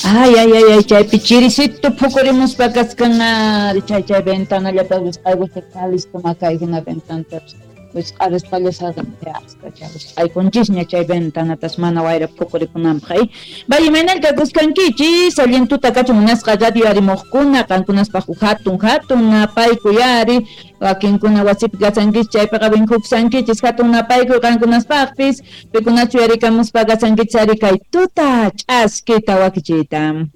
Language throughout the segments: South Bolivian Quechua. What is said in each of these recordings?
Ay, ay, ay, ay, chaypi chirisito phukurimuspa kaskan ari, chay chay ventanallata wisq'aykuspa listo makay hina ventanatapas wisq'arisqalla wisq'aykunchisña chay ventanatas mana wayra phukurikunanpaq. Ay, vaya imaynalla kakuskankichis, allin tuta kachun munasqa radio arimuqkuna, qankunaspaq hatun hatun napaykuy ari, wakinkuna wasipi kasankichis chaypiqa vinkukusankichis hatun napaykuy qankunaspaqpis, pikunachu yarikamuspa kasankichis ari kay tuta ch'askita wakichiyta.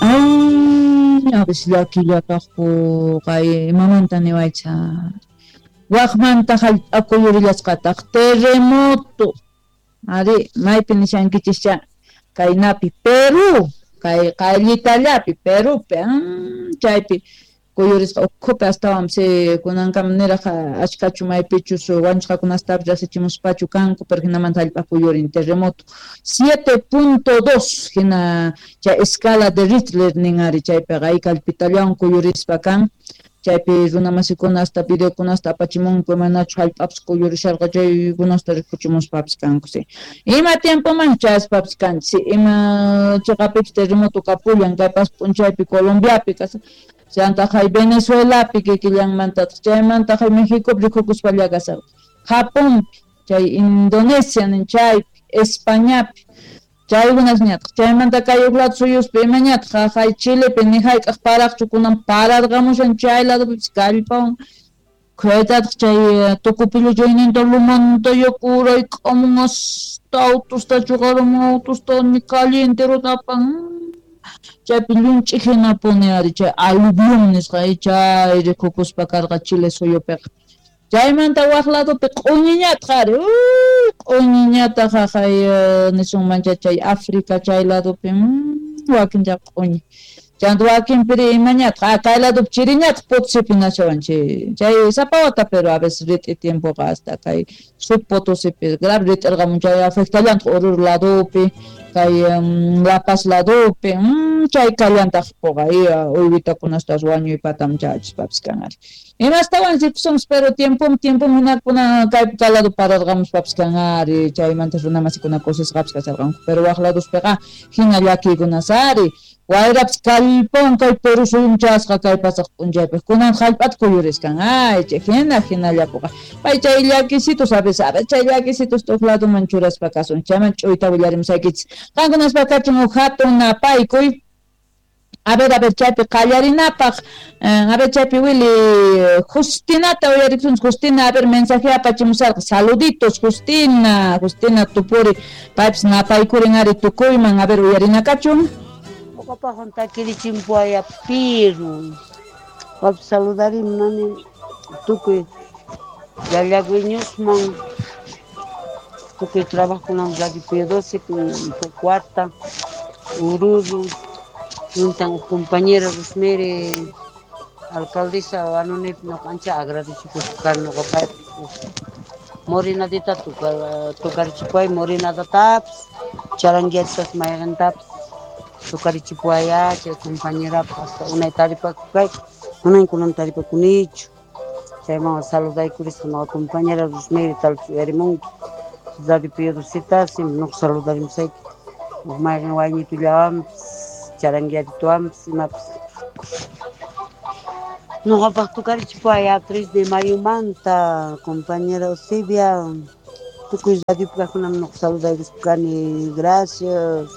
Ay, a veces llakillataqku kay imamanta niwaycha. Waqmanta hallp'a kuyurillasqataq terremoto. Ari, maypi nishankichischa kaynapi Perú, kay qayllitallapi Perúpi, chaypi kuyurisqa ukhupi astawan si kunankama niraq achkachu maypichus wañusqakunastapis rasichimuspachu kanku, pero hinamanta hallp'a kuyurin terremoto 7.2 hina chay escala de Richter nin ari chaypiqa ay kallpitallawan kuyurispa kan. Chaypi runamasikuna hasta videokunasta apachimunku imanachu hallp'apas kuyurisharqa chaykunasta rikuchimuspapis kanku si. Ima tiempoman chayaspapis kanchis si, ima chiqapipis terremoto kapullan kay pas p'unchaypi Colombiapi kashan. Chantaq hay Venezuelapi kikillanmantataq, chaymantaq hay Mexicopi rikukuspalla kasharqa, Japonpi, chay Indonesia nin chaypi, Españapi, chaykunasñataq, chaymanta kay huk lado suyuspi imañataq, hay Chilepi ni hayk'aq paraqchu kunan pararqamushan chay ladopipis kallpawan, khaytataq chay Tocopillo chayninta lumanta yaku urayk'amun hasta autosta chuqaramun autosta ni calle enterota apan. Chaypi llunch'i hinapuni ari chay aluvión nisqa chay rikukuspa karqa Chile suyupiqa. Chaymanta waq ladopi q'uñiñataq ari, q'uñiñataq haqay nisunmancha chay África chay ladopi, wakin chay q'uñi. Chanta wakinpiri imañataq, kay ladopi chiriñataq Potosipi nashawan chay sapa wata, pero a veces rit'i tiempoqa hasta kay sub Potosipi grave rit'irqamun chay afectallantaq Oruro ladopi, kay La Paz ladopi, chay kallantaq puqa uywitakunastas wañuypatam chachispapis kan ari. Imastawan rikusunchis, pero tiempom tiempom hinakuna kaypi kay lado pararqamuspapis kan ari, chaymanta runamasikuna kusisqapis kasharqanku, pero waq ladospiqa hina llakiykunas ari. Wayrapis kallpawan kay Perú suyum chasqa kay pasaq p'unchaypi, kunan hallp'ata kuyuriskan, ay chay hina hinallapuqa. Pay chay llakisitos a veces, a ver chay llakisitos tuq ladoman churaspa kasun, chayman ch'uyta willarimusaykichis. Qankunaspa kachun huk hatun napaykuy. A ver, chaypi qallarinapaq, a ver chaypi Willy, Justinata uyarikunchis, Justina, a ver mensaje apachimusarqa, saluditos Justina, Justina Tupuri, paypis napaykurin ari tukuyman, a ver uyarinakachun. Uqapaqwan takirichimpuaya Piru. Wap saludarim nani tukuy llallagüeñosman, tukuy trabajokunan Radio Pío XII, Pocuata, Ururu, juntan compañera Rosemary, alcaldesa Anonip, noqancha agradecikuspa noqapaypi morinadita tukarichipuay morinadatapas, charanguiatas mayqintapas tukarichipuaya chay compañera hasta unay taripakukay, manan kunan taripakunichu. Chayman saludaykurisqa noqa compañera Rosemary tal uyarimunki Radio Pío XII, siempre noqa saludarimusayki huk mayqin wayñitullawanpis charanguiatituwanpis imapas. Noqapaq tukarichipuaya 3 de mayomanta compañera Eusebia, tukuy radiopi kaqkunam noqa saludaykuspa kani, gracias.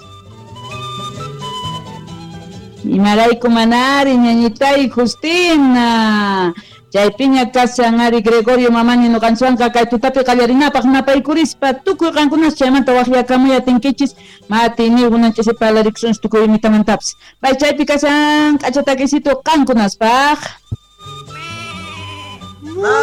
Imarayku manari ñañitay Justina. Chaypiña kashan ari Gregorio Mamani noqanchwanqa kay tutapi qallarinapaq napaykurispa tukuy qankunas chaymanta waqyakamuy atinkichis mati niykunan ch'isi parlarikusunchis tukuy imitamantapis. Pay chaypi kashan k'acha takisito qankunaspaq. Ma